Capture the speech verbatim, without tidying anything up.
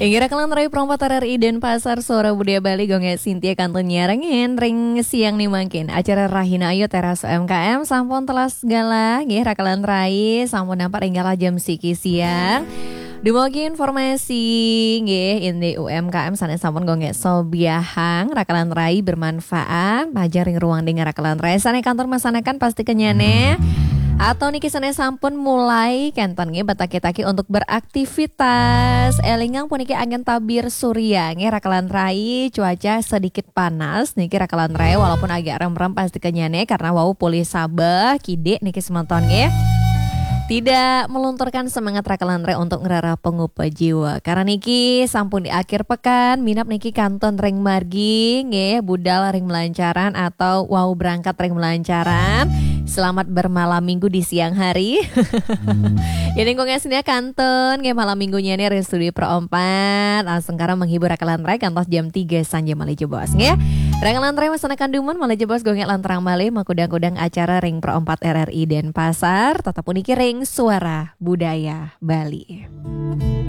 Inggih rakan rai Pro empat R R I Denpasar, Suara Budaya Bali, Gung Gé Sintia kantun nyarengin ring siang ni mangkin. Acara Rahina Ayu Teras U M K M sampun telas galah, nggih rakan rai, sampun nampak ring galah jam siki siang. Dumugi informasi nggih indik U M K M sané sampun Gung Gé sobiahang, rakan rai, bermanfaat, majeng ring ruang dengar rakan rai. Sané kantun masanekan pasti kenyane. Atau niki sané sampun mulai kenten nggih, betaki-taki untuk beraktivitas. Elingang puniki angin tabir surya nggih rakan rai, cuaca sedikit panas niki rakan rai, walaupun agak remrem pasti kenyane karena wau polih sabeh kidik niki semeton nggih. Tidak melunturkan semangat rakan rai untuk ngrereh pangupa jiwa. Karena niki sampun di akhir pekan, minab niki kantun ring margi nggih, budal ring melancaran atau wau berangkat ring melancaran. Selamat bermalam minggu di siang hari. Jadi Gung Gé Sintia kantun nggih malam minggunya nih ring studio Pro empat. Langsung karo menghibur rakan rai kantos jam tiga sanja malih jebos nggih. Rakan rai masanekan dumun malih jebos Gung Gé lan terang malih makudang-kudang acara ring Pro empat R R I Denpasar, tetap puniki ring Suara Budaya Bali.